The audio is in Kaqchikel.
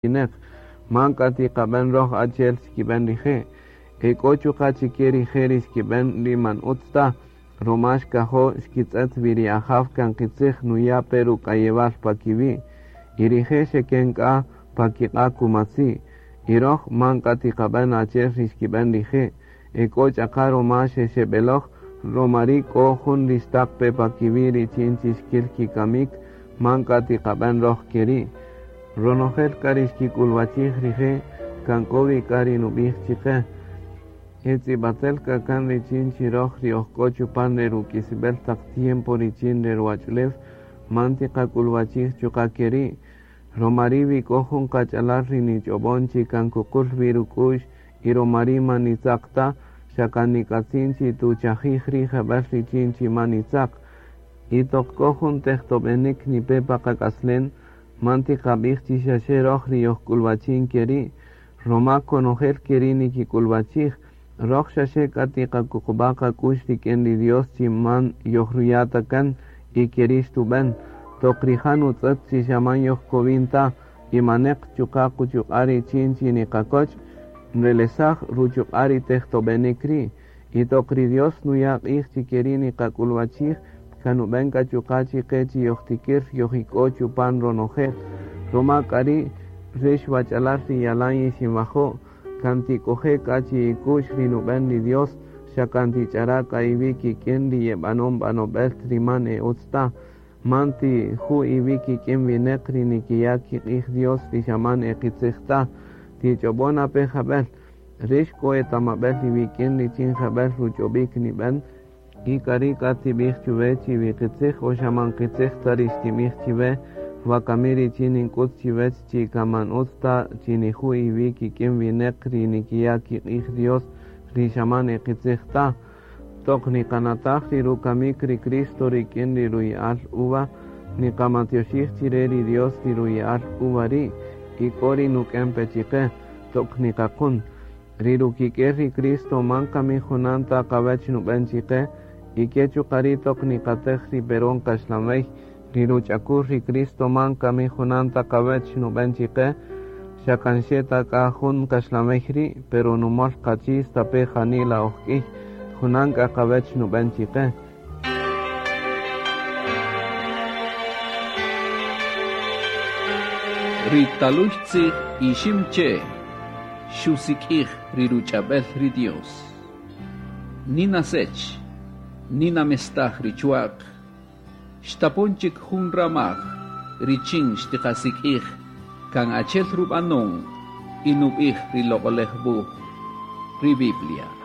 Wineq, man k'a tiqab'en roj achi'el xkib'en rije'. Ek'o chuqa' chike rije' ri xkib'en ri man utz ta, roma xkajo' xkitz'et wi ri Ajaw kan qitzij nuya' pe ruk'ayewal pa kiwi'. Y rije' xeken k'a pa kiq'a' kumatzi'. Y roj man k'a tiqab'en achi'el ri xkib'en rije'. Ek'o ch'aqa roma xexeb'eloj, roma ri' k'o jun ri xtaq pe pa kiwi' richin chi xkil kikamik, man k'a tiqab'en roj keri'. Ronojel k'a ri xkik'ulwachij rije' kan k'o wi k'a ri nub'ij chiqe. E tz'ib'atel k'a kan richin chi roj ri oj k'o chupan re ruk'isib'el taq tiempo richin re ruwach'ulew, man tiqak'ulwachij chuqa' keri'. Roma ri' wi k'o jun qach'alal ri nich'ob'on chi kan kuqul wi ruk'u'x y roma ri' man nitzaq ta, xa kan nik'atzin chi tuchajij ri' jeb'ël richin chi man nitzaq. Y toq k'o jun tejtob'enik nipe pa qak'aslen, man tiqab'ij chi xaxe roj ri yojk'ulwachin keri', roma konojel keri' nikik'ulwachij, roj xaxe k'a tiqakuqub'a' qak'u'x rik'in ri Dios chi man yojruya' ta kan y keri' xtub'en. Toq rija' nutz'ët chi xa man yojkowin ta y maneq chuqa' quchuq'a' richin chi niqakoch', nrelesaj ruchuq'a' ri tejtob'enik ri'. Y toq ri Dios nuya' q'ij chi keri' niqak'ulwachij, kan nub'en k'a chuqa' chiqe chi yojtikir yojik'o chupan ronojel. Roma k'a ri' rix wach'alal ri yalan yixinwajo', kan tik'oje' k'a chi ik'u'x ri nub'en ri Dios, xa kan tich'ara' k'a iwi' kik'in ri yeb'anon b'anob'el ri man e utz ta. Man tiju' iwi' kik'in wineq ri nikiya' kiq'ij Dios ri xa man e qitzij ta. Tich'ob'on ape jab'el. Rix k'o etamab'el iwik'in richin jeb'ël ruch'ob'ik nib'en, y k'a ri' k'a tib'ij chuwe chi wi qitzij o xa man qitzij ta ri xtib'ij chiwe, wakami richin nink'ut chiwech chi kan man utz ta chi niju' iwi' kik'in wineq ri nikiya' kiq'ij Dios ri xa man e qitzij ta. Toq niqanataj ri rukamik ri Cristo rik'in ri ruya'al uva, niqamatyoxij chire ri Dios ri ruya'al uva ri' y k'o ri nuk'en pe chiqe, toq niqaqun. Ri rukik'el ri Cristo man kami junan ta qawech nub'en chiqe, y ke chuqa' ri' toq niqatej ri peron kaxlanwey, ri ruch'akul ri Cristo man kami junan ta qawech nub'en chiqe, xa kan xe ta k'a jun kaxlanwey ri', pero numol qachi' stape' janila oj k'iy, junan k'a qawech nub'en chiqe. Ri taluy tzij Iximche xusik'ij ri ruch'ab'el ri Dios. Nina sech, nina mestaj ri chwa'q, xtapon chik jun ramaj richin xtiqasik'ij kan achel rub'anon y nub'ij ri Loq'olej Wuj, ri Biblia.